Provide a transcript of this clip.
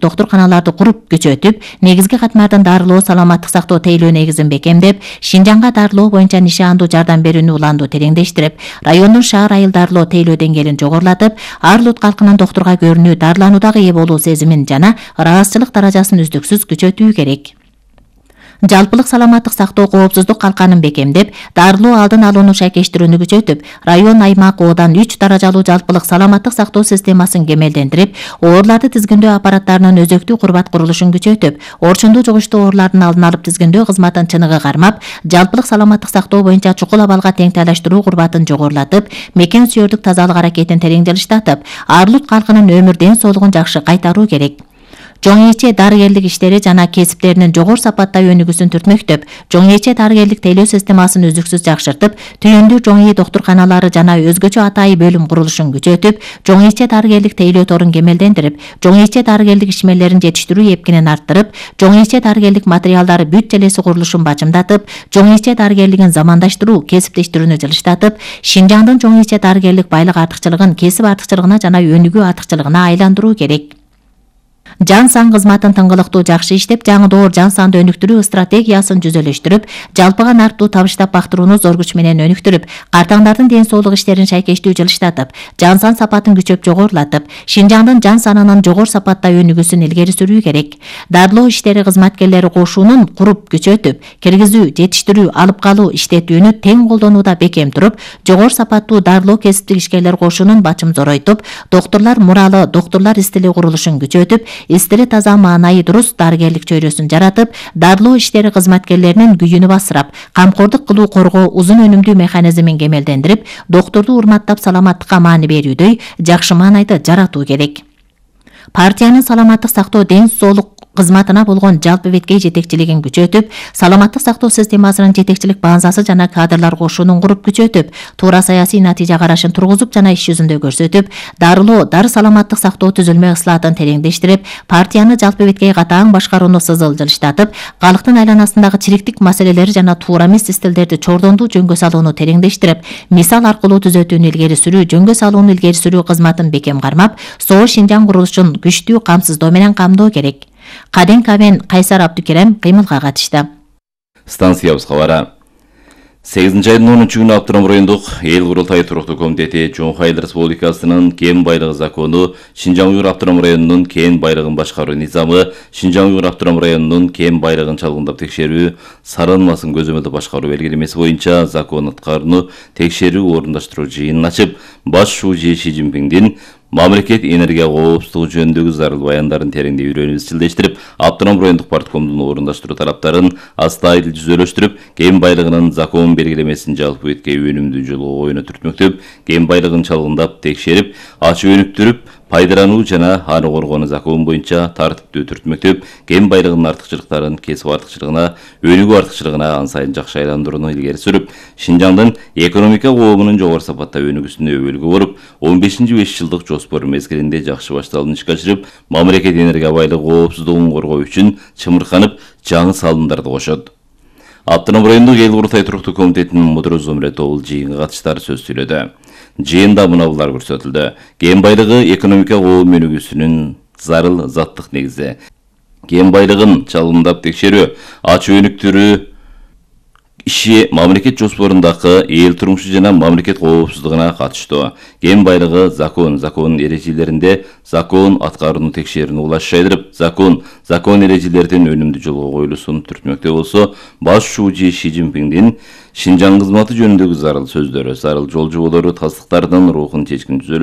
доктурканаларды куруп күчөтүп, негизги катмардын дарылоо саламаттык сактоо тейлөө негизин бекемдеп, Шинжаңга дарылоо боюнча нишандуу жардам берүүнү уланду тереңдештирип, райондун шаар айыл дарылоо тейлөө деңгээлин жогорулатып, ар улут калкынын доктурга көрүнүү, дарылануудагы ээ болуу сезимин жана ыраазычылык даражасын үздүксүз күчөтүү керек. Жалпылык саламаттык сактоо коопсуздук калканын бекемдеп, дарылоо алдын алууну шайкештирүүнү күчөтүп, район, аймак, оодан 3 даражалуу жалпылык саламаттык сактоо системасын кемелдендирип, ооруларды тизгиндөө аппараттарынын өзөктүү курбат курулушун күчөтүп, орчундуу жугуштуу оорулардын алдын алып тизгиндөө кызматын чыныгы кармап, жалпылык саламаттык сактоо боюнча чукул абалга тең тайлаштыруу курбатын жогорулатып, мекен сүйөрдүк тазалык аракетин терең жылыштатып, ар улут калкынын өмүр ден соолугун жакшы кайтаруу керек. Жоң ээче дарыгерлик иштери жана кесиптеринин жогору сапатта өнүгүүсүн түртмөктөп, жоң ээче дарыгерлик тейлөө системасын үздүксүз жакшыртып, түйүндүү жоң ээ доктурканалары жана өзгөчө атайы бөлүм курулушун күчөтүп, жоң ээче дарыгерлик тейлөө торун кемелдендирип, жоң ээче дарыгерлик ишмерлерин жетиштирүү эпкинин арттырып, жоң ээче дарыгерлик материалдары бүт желеси курулушун бачымдатып, жоң ээче дарыгерлигин замандаштыруу, кесиптештирүүнү жылыштатып, Шинжаңдын жоң ээче дарыгерлик байлык артыкчылыгын кесип артыкчылыгына жана өнүгүү артыкчылыгына айландыруу керек. Жан сан кызматын тыңгылыктуу жакшы иштеп, жаңы доор жан санды өнүктүрүү стратегиясын жүзөлөштүрүп, жалпыга нарттуу табыштап бактырууну зор күч менен өнүктүрүп, картаңдардын ден соолук иштерин шайкештүү жылыштатып, жан сан сапатын күчөп жогорулатып, Шинжаңдын жан санынын жогору сапатта өнүгүүсүн илгери сүрүү керек. Дарылоо иштери кызматкерлери кошуунун куруп күчөтүп, киргизүү, жетиштирүү, алып калуу, иштетүүнү тең колдонууда бекем туруп, жогору сапаттуу дарылоо кесиптик ишкерлер кошуунун бачым зоройтуп, доктурлар муралы, доктурлар истили курулушун күчөтүп, истили таза маанайы дурус дарыгерлик чөйрөсүн жаратып, дарылоо иштери кызматкерлеринин күйүнү басырап, камкордук кылуу коргоо узун өнүмдүү механизмин кемелдендирип, доктурду урматтап саламаттыкка маани берүүдөй жакшы маанайды жаратуу керек. Партиянын саламаттык сактоо ден соолук кызматына болгон жалпы беткей жетекчилигин күчөтүп, саламаттык сактоо системасынын жетекчилик базасы жана кадрлар кошуунун куруп күчөтүп, туура саясий натыйжа карашын тургузуп жана иш жүзүндө көрсөтүп, дарылоо, дары саламаттык сактоо түзүлмө ыслаатын тереңдештирип, партияны жалпы беткей катаң башкарууну сызыл жылыштатып, калктын айланасындагы чириктик маселелери жана туура эмес стилдерди чордондуу жөнгө салууну тереңдештирип, мисал аркылуу түзөтүүнү илгери сүрүү, жөнгө салууну илгери сүрүү кызматын бекем кармап, СОО Шинжаң курулушун күчтүү камсыздоо менен камдоо керек. Каден Кабен Кайсар Абдукерем кыймылга катышты. Станциябыз кабары. 8-айдын 10-күнү Аптырам райондук эл курултайы туруктуу комитети Чоң Айыл Республикасынын кен байлыгы закону, Шинжаң Уйгур Аптырам районунун кен байлыгын башкаруу низамы, Шинжаң Уйгур Аптырам районунун кен байлыгын чалгындап текшерүү, сарылмасын көзөмөлдө башкаруу белгилемеси боюнча закон аткарууну текшерүү орундаштыруу жыйынын ачып, баш шүүжи Ши Цзиньпиндин мамлекет энергия коопсуздугу жөнүндөгү зарыл баяндарын тереңдей үйрөнүп изчилдештирип, Аптырам райондук парткомдун орундаштыруу тараптарын астайыл жүзөлөштүрүп, кен байлыгынын закон белгилемесин жалпы беткей өнүмдүү жолго коюуну түртмөктөп, кен байлыгын чалгындап текшерип, ачып өнүктүрүп, пайдалануу жана аны коргоону закон боюнча тартиптүү түртмөктөп, кен байлыгынын артыкчылыктарын кесип артыкчылыгына, өнүгүү артыкчылыгына ан сайын жакшы айландырууну илгери сүрүп, Шинжаңдын экономика коомунун жогору сапатта өнүгүүсүнө өбөлгө боруп, 15-5 жылдык жоспор мезгилинде жакшы башталган ишке ашырып, мамлекет энергия байлыгы коопсуздугун коргоо үчүн чымырканып, жаңы салымдарды кошот. Аптырам райондук эл курултайы туруктуу комитетинин мудуру Зумре Тобул жыйынга катыштар сөз сүйлөдү. Жыйында мынабулар көрсөтүлдү. Кен байлыгы экономика коом өнүгүүсүнүн зарыл заттык негизи. Кен байлыгын чалгындап текшерүү, ачып өнүктүрүү иши мамлекет жоспорундагы эл турмушу жана мамлекет коопсуздугуна катыштуу. Кен байлыгы закон эрежелеринде закон аткарууну текшерүүнү улашчайдырып, закон эрежелердин өнүмдүү жолго коюлуусун түртмөктө болсо, баш шүүжи Ши Цзиньпиндин Шинжаң кызматы жөнүндөгү зарыл сөздөрү, зарыл жол жоболору, тастыктардын рухун чечкин